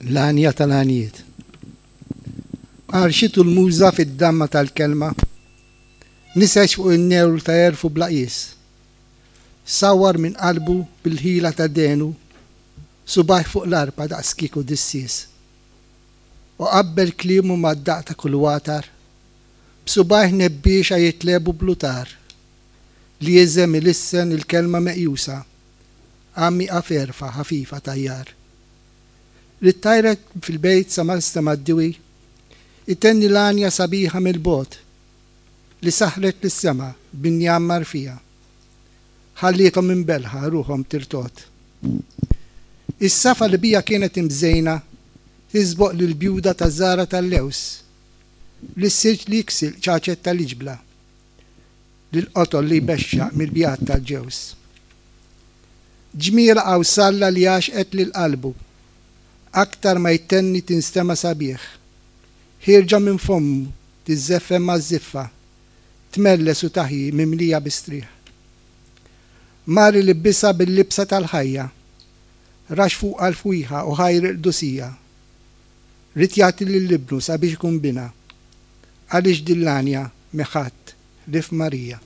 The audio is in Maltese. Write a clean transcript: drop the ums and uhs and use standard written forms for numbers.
L-għanja tal-għanjiet. Għarxitu l-muża fid-damma tal-kelma, niseġ fuq in-newl ta' għerfu bla qies. Sawwar minn qalbu bil-ħila ta' dehnu, subgħajh fuq l-arpa daqs kieku dissies. U qabbel kliemu mad-daqq ta' kull watar, b'subgħajh nebbiexa jitlebu bl-utar, li jiżem ilissen il-kelma meqjusa, għammiqa f'għerfa ħafifa tajjar. Li ttajret fil-bejt sa ma nstema' d-diwi, itenni l-għanja sabiħa mill-bogħod, li saħħret lis-sema b'injam marfija. Ħalliethom imbellħa ruħhom tirtogħod. Is-safa li bija kienet imżejna tisboq lill-bjuda taż-żahra tal-lewż, lis-silġ li jiksi l-qċaċet tal-iġbla, lill-qotol li jbexxaq mill-bjad tal-ġewż. Ġmielha qawsalla li għaxqet lil qalbu. Aktar ma jtenni tinstema' sabiħ. Ħierġa minn fommu tiżżeffen maż-żiffa, tmelles u taħji mimlija bi strieħ. Mar ilibbisha bil-libsa tal-ħajja. Raxx fuqha l-fwieħa u ħajr il-qdusija. Ried jagħti lil ibnu sabiex ikun binha. Għaliex din l-għanja m'hi ħadd ħlief Marija.